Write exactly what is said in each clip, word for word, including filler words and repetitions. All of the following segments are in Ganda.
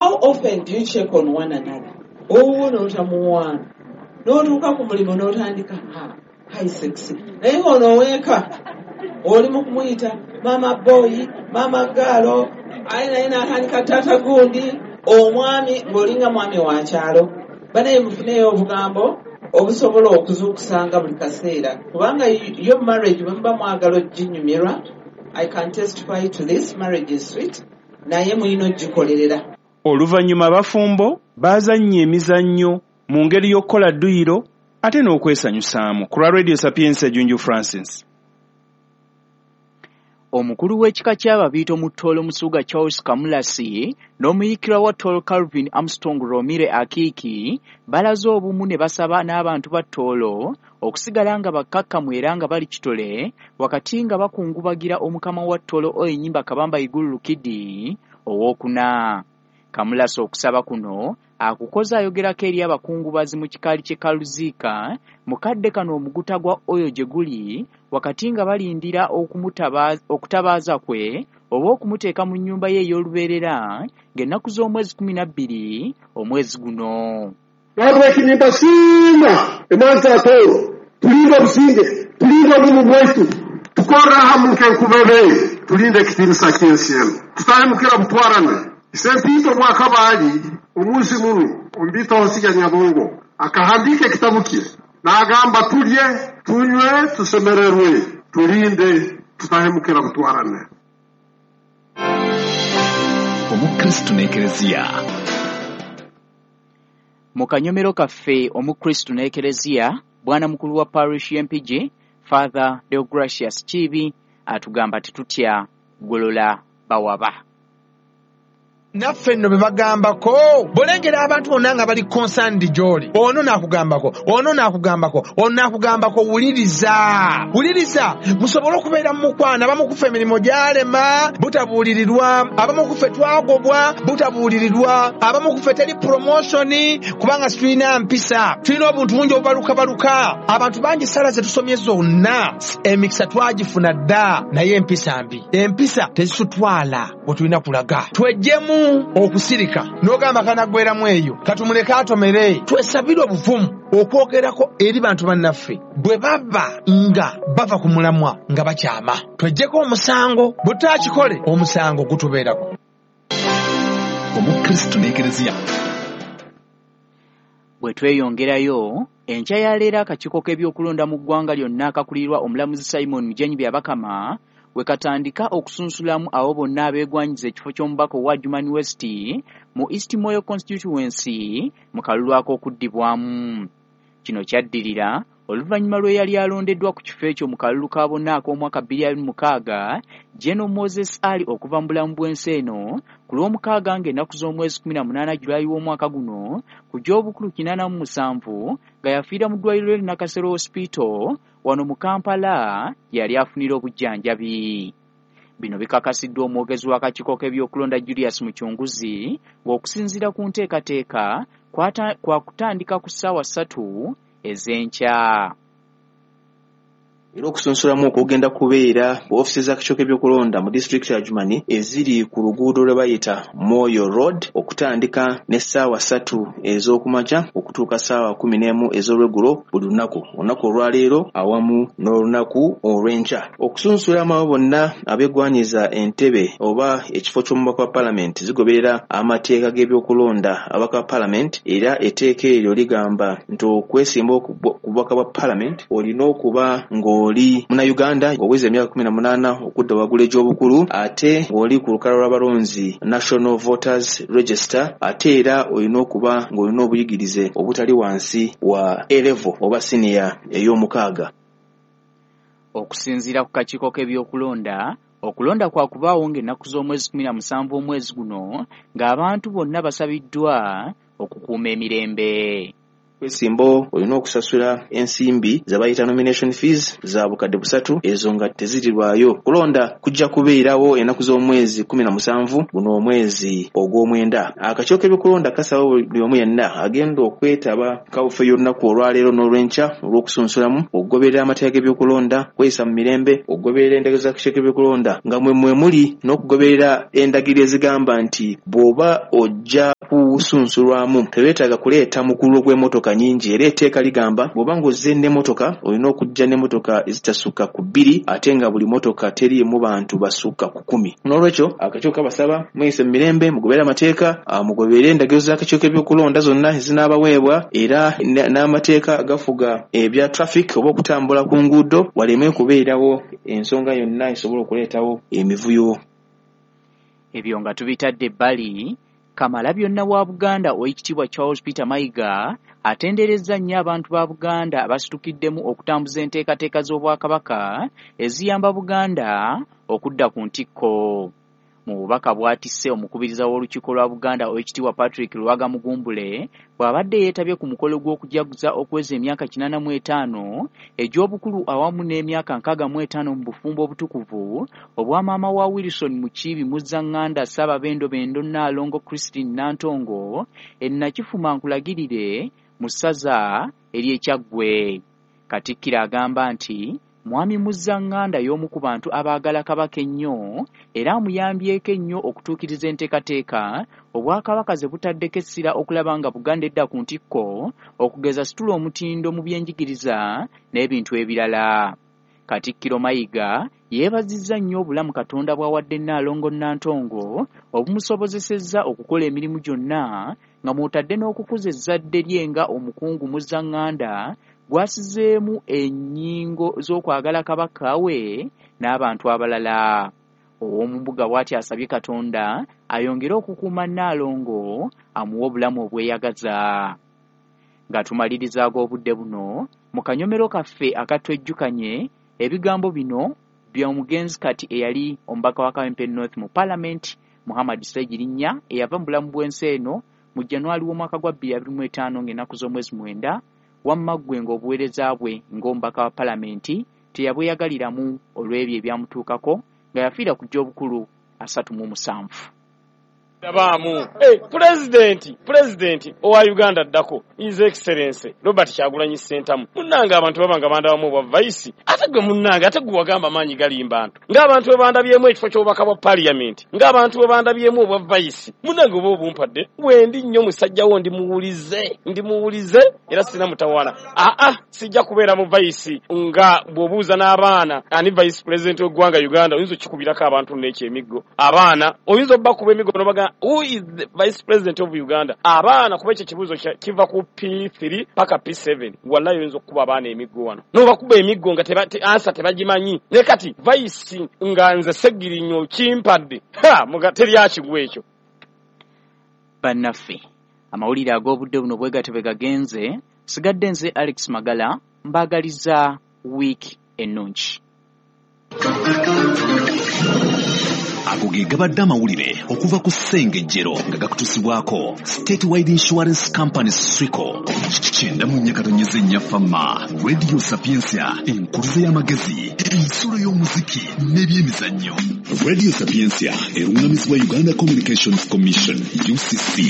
How often do you check on one another? Owuwo n'otamuwaana, n'otuuka ku mulimu n'otandika, "Ha, hi sexy," naye ng'ono oweeka oli mu kumuyita mama boy, mama girl, aye naye n'atandika taata gundi, omwami ng'olinga mwami wa kyalo. Banaye mufuneyo obugambo obusobola okuzuukusanga buli kaseera, kubanga yo marriage bwe muba mwagala oginyumirwa, I can testify to this, marriage is sweet, naye mulina ogikolerera. Oluvannyuma abafumbo baazannya emizannyo mu ngeri y'okukola dduyiro ate n'okwesanyusaamu. Ku lwa Radio Sapientia, Junju Francis. Omukulu w'ekika ky'Ababiito mu Tooro, Musuuga Charles Kamulasi, n'omuyiikirwa wa Tooro, Calvin Armstrong Romire Akiiki, balaze obumu ne basaba n'abantu ba Tooro okusigala nga bakkakkamu era nga bali kitole wakati nga bakungubagira omukama wa Tooro, Oyenyimba Kabamba Iguru Rukidi owookuna. Kamulasi okusaba kuno akukoze ayogerako eri abakungubazi mu kikaali ky'e Kaluziika mu kadde kano omuguta gwa Oyo gye guli wakati nga balindira okutabaaza kwe oba okumuteeka mu nnyumba ye ey'olubeerera ng'ennaku z'omwezi kkumi na bbiri omwezi guno. Nahabweki nimbasiima emanzi za Tooro, tulinde obusinge, tulinde obumu bwaitu, tukorre hamu nk'enkubebe, tulinde ekitiinisa ky'ensi enu, tutahemukira butwarane. Isempito Mwakabaali omunsi munu omubiito Hosiga Nyabongo akahandiika ekitabu kye n'agamba, "Tulye, tunywe, tusemererwe, tulinde tutahemukira butwarane." Omukristu n'Ekereziya. Mu kanyomero kaffe Omukristu n'Ekereziya, bwana mukulu wa parish y'Empigi, Father Deogracius Kiibi, atugamba tetutya kugolola bawaba. Naffe nno be bagambako bw'olengera abantu bonna nga bali concerned gy'oli, ono n'akugambako, ono n'akugambako, ono n'akugambako, wuliriza, wuliriza musobole okubeera mu mukwano. Abamu kufa emirimu gyalema butabuulirirwa, abamu kufe twagobwa butabuulirirwa, abamu kufe teri promotion kubanga situlina mpisa, tulina obuntu bungi obubalukabaluka. Abantu bangi sala ze tusomye zonna emikisa twagifuna dda, naye empisa mbi, empisa tezitutwala we tulina kulaga. Twejjemu okusirika n'ogamba kanaggweramu eyo, katumuleke atomere. Twesabire obuvumu okwogerako eri bantu bannaffe bwe baba nga bava ku mulamwa nga bakyama. Twejjeko omusango, bwe tutakikole omusango gutubeerako. Omukristu n'Ekereziya. Bwe tweyongerayo, enkya ya leero akakiiko k'ebyokulonda mu ggwanga lyonna akakulirwa omulamuzi Simon Mugenyi Byabakama we katandika okusunsulamu abo bonna abeegwanyiza ekifo ky'omubaka owa Adjumani West mu East Moyo Constituency mu kalulu ak'okuddibwamu. Kino kyaddirira oluvannyuma lwe yali alondeddwa ku kifo ekyo mu kalulu ka bonna ak'omwaka bbiri abiri mu mukaaga, General Moses Ali, okuva mu bulamu bw'ensi eno ku Lwomukaaga ng'ennaku z'omwezi kkumi na munaana Julayi w'omwaka guno ku gy'obukulu kinaana mu musanvu, nga yafiira mu ddwaliro ly'e Nakasero Hospital wano mu Kampala gye yali afunira obujjanjabi. Bino bikakasiddwa omwogezi w'akakiiko k'ebyokulonda Julius Mucunguzi, ng'okusinziira ku nteekateeka kwa kutandika ku ssaawa ssatu ez'enkya. Era okusunsulamu okugenda kubeera ku ofiisi z'akakiiko k'ebyokulonda mu disitulikiti ya Adjumani eziri ku luguudo lwe bayita Moyo Road, okutandika n'essaawa ssatu ez'okumakya okutuuka ssaawa kumi n'emu ez'olweggulo buli lunaku, olunaku olwaleero awamu n'olunaku olw'enkya. Okusunsulamu abo bonna abeegwanyiza entebe oba ekifo ky'omubaka wa paalamenti zigoberera amateeka g'ebyokulonda ababaka ba paalamenti, era etteeka eryo ligamba nti okwesimba ku bubaka bwa paalamenti olina okuba ng'o oli Munnayuganda ng'oweza emyaka kumi na munaana okudda waggulu egy'obukulu, ate ng'oli ku lukalala lw'abalonzi, National Voters Register, ate era olina okuba ng'olina obuyigirize obutali wansi wa A level oba siniya ey'omukaaga. Okusinziira ku kakiiko k'ebyokulonda, okulonda kwa kubaawo ng'ennaku z'omwezi kkumi na musanvu omwezi guno, ng'abantu bonna basabiddwa okukuuma emirembe. Kwesimbawo olina okusasula ensimbi ze bayita nomination fees za bukadde busatu, ezo nga tezirirwayo. Kulonda kujja kubeerawo ennaku z'omwezi kumi na musanvu guno omwezi ogw'omwenda. Akakiiko k'ebyokulonda kasaba buli omu yenna agenda okwetaba kawufe y'olunaku olwaleero n'olwenkya olw'okusunsulamu, okugoberera amateeka g'ebyokulonda, kweyisa mu mirembe, okugoberera endagiriro z'akakiiko k'ebyokulonda nga mwe mwe muli n'okugoberera endagiriro ezigamba nti bw'oba ojja kusunsulwamu tebeetaaga kuleeta mukululo gw'emmotoka nyingi. Era etteeka ligamba bw'oba ng'ozze n'emmotoka olina okujja n'emmotoka ezitasukka ku bbiri, ate nga buli mmotoka teriimu bantu basukka ku kumi. Noolwekyo akakiiko kabasaba mweyise mu mirembe, mugoberere amateeka, mugoberere endagiriro z'akakiiko k'ebyokulonda zonna ezinaabaweebwa, era n'amateeka agafuga ebya traffic oba okutambula ku nguudo, waleme kubeerawo ensonga yonna esobola okuleetawo emivuyo. Ebyo nga tubitadde ebbali, Kamalabyonna wa Buganda Oweekitiibwa Charles Peter Mayiga atenderezza nnyo abantu ba Buganda abasitukiddemu okutambuza enteekateeka z'Obwakabaka eziyamba Buganda okudda ku ntikko. Mu bubaka bw'atisse omukubiriza w'Olukiiko lwa Buganda Oweekitiibwa Patrick Luwaga Mugumbule bw'abadde yeetabye ku mukolo gw'okujaguza okuweza emyaka kinaana mu etaano egy'obukulu awamu n'emyaka nkaaga mu etaano mu bufumbo obutukuvu obwa maama wa Wilson Mukiibi Muzzaŋŋanda Ssaababendobendo Nnaalongo Christine Nantongo e Nakifuma Nkulagirire mu ssaza ery'e Kyaggwe. Katikkiro agamba nti Mwami Muzzaŋŋanda y'omu ku bantu abaagala Kabaka ennyo era amuyambyeko ennyo okutuukiriza enteekateeka Obwakabaka ze butaddeko essira okulaba nga Buganda edda ku ntikko, okugeza situla omutindo mu byenjigiriza n'ebintu ebirala. Katikkiro Mayiga yeebazizza nnyo obulamu Katonda bw'awadde Nnaalongo Nantongo obumusobozesezza okukola emirimu gyonna nga mw'otadde n'okukuza ezzadde lye nga omukungu Muzzaŋŋanda gwasizeemu ennyingo z'okwagala Kabaka we n'abantu abalala. Ow'omumbuga bw'atyo asabye Katonda ayongere okukuuma Nnaalongo amuwe obulamu obweyagaza. Nga tumaliriza ag'obudde buno, mu kanyomero kaffe akatwejjukanye ebigambo bino by'omugenzi kati eyali omubaka wa Kawempe North mu Paalamenti Muhammad Ssegirinnya eyava mu bulamu bw'ensi eno mu January w'omwaka gwa bbiri abiri mu etaano ng'ennaku z'omwezi mwenda, wamma ggwe ng'obuweereza bwe ng'omubaka wa Paalamenti teyabweyagaliramu olw'ebyo ebyamutuukako nga yafiira ku gy'obukulu asatu mu musanvu. Dabaamu. Hey, Pulezidenti, Pulezidenti owa Uganda ddako, His Excellency Robert Kyagulanyi Ssentamu. Munnange abantu baba nga bandabamu obwa vice, ate gwe munnange, ate gwe wagamba amaanyi galimba bantu. Ng'abantu bwe bandabyemu ekifo ky'obubaka bwa Parliament, ng'abantu bwe bandabyemu obwa vice, munnange oba obumpadde, wendi nnyo musajja wo ndi muwulize, ndi muwulize era sina mutawaana. Aa, sijja kubeera mu vice nga bw'obuuza n'abaana ani vice president w'eggwanga Uganda, oyinza okukikubirako abantu n'ekyo emiggo. Abaana oyinza obbakuba emiggo n'obaga who is the vice president of Uganda? Abaana kuba ekyo ekibuuzo kiva ku P three paka P seven. Wallahi oyinza okukuba abaana emiggo wano. N'obakuba emiggo nga teba, te, ansa tebagimanyi. Ne kati vice nga nze Ssegirinnya kimpadde. Ha, muga teri akigwa ekyo. Bannaffe, amawulire ag'obudde buno bwe gatyo bwe gagenze, sigadde nze Alex Magala mbaagaliza wiiki ennungi. Ago ge gabadde amawulire okuva ku Ssengejjero nga gakutusibwako Statewide Insurance Company Swico. Kyenda mu nnya katonyeze nnya Fama, Radio Sapientia, enkuluze y'amagezi, ensulo y'omuziki n'ebyemizannyo. Radio Sapientia erungamizibwa Uganda Communications Commission U C C.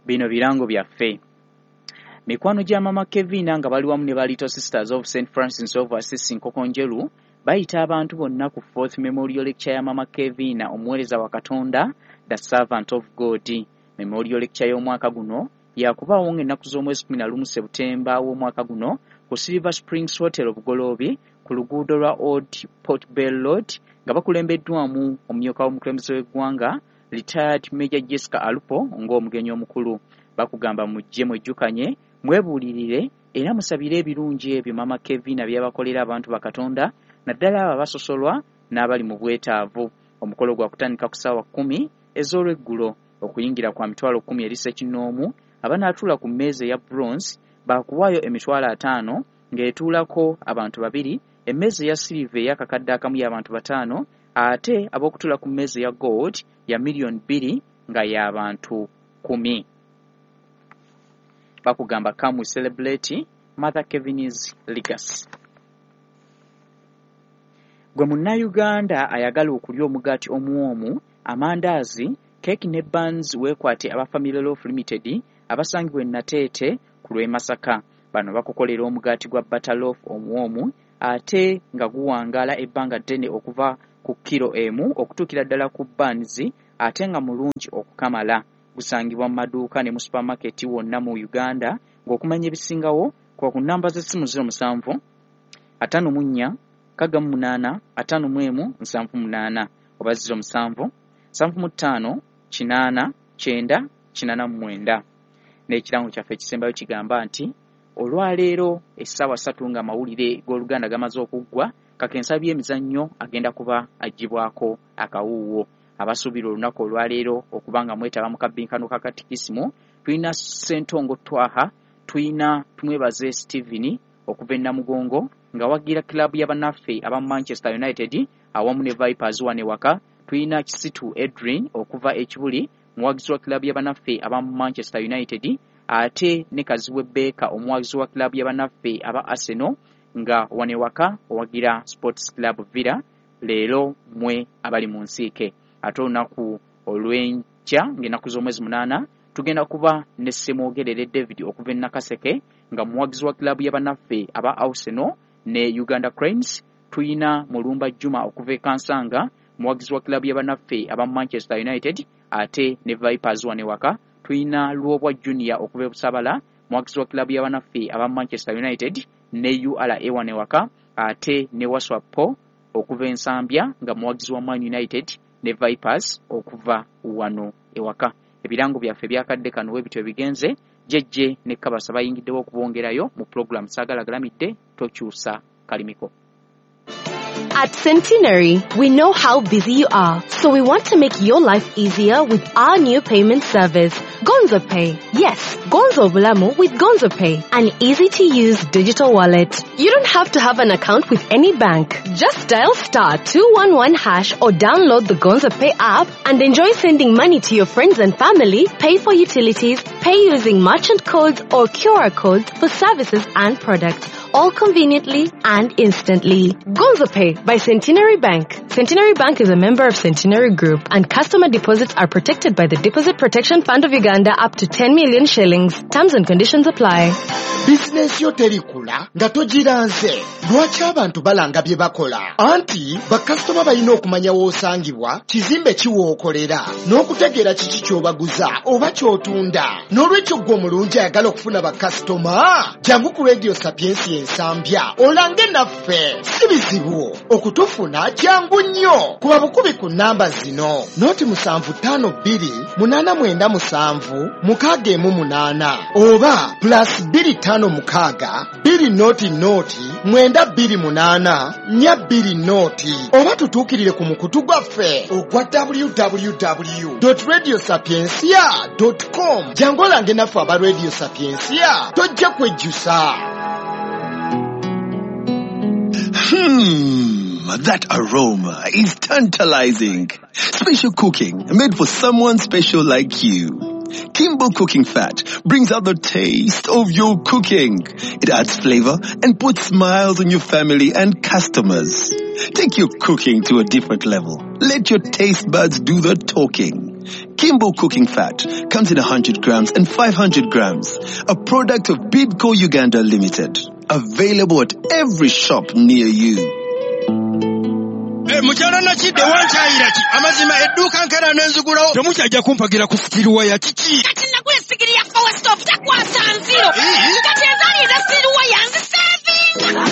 Bino birango byaffe. Mikwano gya Mama Kevina nga bali wamu ne ba Little Sisters of Saint Francis of Assisi Nkokonjeru bayita abantu bonna ku fourth Memorial Lecture ya Mama Kevina omuweereza wa Katonda, The Servant of God. Memorial Lecture y'omwaka guno yakubaawo ng'ennaku z'omwezi kumi na lumu Sebutemba w'omwaka guno ku Silver Springs Hotel Bugoloobi ku luguudo lwa Old Port Bell Road nga bakulembeddwamu omumyuka w'omukulembeze w'eggwanga Retired Major Jessica Alupo ng'omugenyi omukulu. Bakugamba mujje mwejjukanye, mwebuulirire era musabire ebirungi ebyo Mama Kevina by'abakolera abantu ba Katonda, naddala abo abasosolwa n'abali mu bwetaavu. Omukolo gwa kutandika ku ssaawa kkumi ez'olweggulo, okuyingira kwa mitwalo kkumi eri ssekinnoomu. Abanaatuula ku mmeeza eya bronze baakuwaayo emitwalo ataano ng'etuulako abantu babiri, emmeeza eya silver ey'akakadde akamu y'abantu bataano, ate ab'okutuula ku mmeeza eya gold ya miliyoni bbiri nga y'abantu kkumi. Bakugamba come we celebrate Mother Kevin's legacy. Gwe munnayuganda ayagala okulya omugaati omuwoomu, amandaazi, keeki ne buns, weekwate aba Family Loaf Limited abasangibwa e Nateete ku lw'e Masaka. Bano bakukolera omugaati gwa butter loaf omuwoomu ate nga guwangaala ebbanga ddene okuva ku kiro emu okutuukira ddala ku buns, ate nga mulungi okukamala. Gusangibwa mu maduuka ne mu supermarket wonna mu Uganda. Ng'okumanya ebisingawo kuba ku nnamba z'essimu zero musanvu ataano mu nnya nkaaga mu munaana ataano mu emu nsanvu munaana oba zero musanvu nsanvu mu ttaano kinaana kyenda kinaana mu mwenda. N'ekirango kyaffe ekisembayo kigamba nti olwaleero essaawa ssatu nga amawulire g'Oluganda gamaze okuggwa, Kakensa by'emizannyo agenda kuba aggyibwako akawuuwo. Abasuubira olunaku olwaleero okuba nga mwetaba mu kabbinkano ka katikisimu tulina Ssentongo Twaha, tulina Tumwebaze Steven okuva e Namugongo nga wagira club y'abannaffe aba Manchester United awamu ne Vipers wano ewaka. Tulina Kisitu Edrin okuva e Kibuli, muwagizi wa club y'abannaffe aba Manchester United, ate ne Kazibwe Baker omuwagizi wa club y'abannaffe aba Arsenal nga wano ewaka owagira Sports Club Villa. Leero mwe abali mu nsiike. Ate olunaku olw'enkya ng'ennaku z'omwezi munaana tugenda kuba ne Ssemwogerere David okuva e Nakaseke nga muwagizi wa club y'abannaffe aba Arsenal ne Uganda Cranes. Tuyina Mulumba Juma okuva e Kansanga, muwagizi wa club y'abannaffe aba Manchester United ate ne Vipers wano ewaka. Tuyina Lwobwa Junior okuva e Busabala, muwagizi wa club y'abannaffe aba Manchester United ne U R A wano ewaka, ate ne Waswa Paul okuva e Nsambya nga muwagizi wa Man United ne Vipers okuva wano ewaka. Ebirango byaffe byakadde kano we bityo bigenze. Jejje ne Kabasa bayingiddewo okubongerayo mu program Saagala Galamidde Tokyusa Kalimiko. At Centenary, we know how busy you are, so we want to make your life easier with our new payment service, Gonzo Pay. Yes, Gonzo Bulamu with Gonzo Pay, an easy-to-use digital wallet. You don't have to have an account with any bank. Just dial star two one one hash or download the Gonzo Pay app and enjoy sending money to your friends and family, pay for utilities, pay using merchant codes or Q R codes for services and products, all conveniently and instantly. Gonzo Pay by Centenary Bank. Centenary Bank is a member of Centenary Group, and customer deposits are protected by the Deposit Protection Fund of Uganda up to ten million shillings. Terms and conditions apply. Bizinesi yo terikula nga togiranze. Lwaki abantu balanga bye bakola? Anti bakasitoma balina okumanya w'osangibwa, kizimbe ki w'okolera, n'okutegeera kiki ky'obaguza oba ky'otunda. N'olwekyo ggwe omulungi ayagala okufuna bakasitoma, jangu ku Radio Sapiensia Ensambya olange naffe. Si bizibu okutufuna, kyangu nnyo. Kuba bukubi ku nnamba zino: noti musanvu ttaano bbiri munaana mwenda musanvu mukaaga emu munaana oba plus bbiri ttaano mukaaga bbiri noti noti mwenda bbiri munaana nnya bbiri noti, oba tutuukirire ku mukutu gwaffe ogwa w w w dot radio sapiensia dot com. Jangu olange naffe aba Radio Sapiensia, tojja kwejjusa. Hmm, that aroma is tantalizing. Special cooking made for someone special like you. Kimbo Cooking Fat brings out the taste of your cooking. It adds flavor and puts smiles on your family and customers. Take your cooking to a different level. Let your taste buds do the talking. Kimbo Cooking Fat comes in one hundred grams and five hundred grams. A product of Bidco Uganda Limited. Available at every shop near you. Mukyala Nakidde wankyayira ki? Amazima edduuka nkera n'enzigulawo. Temukyajja kumpagira ku sitiruwaya kiki? Kati nagula essigiri ya Power Stop takwasa nziro. Kati ezaali eza sitiruwaya nzisevinga.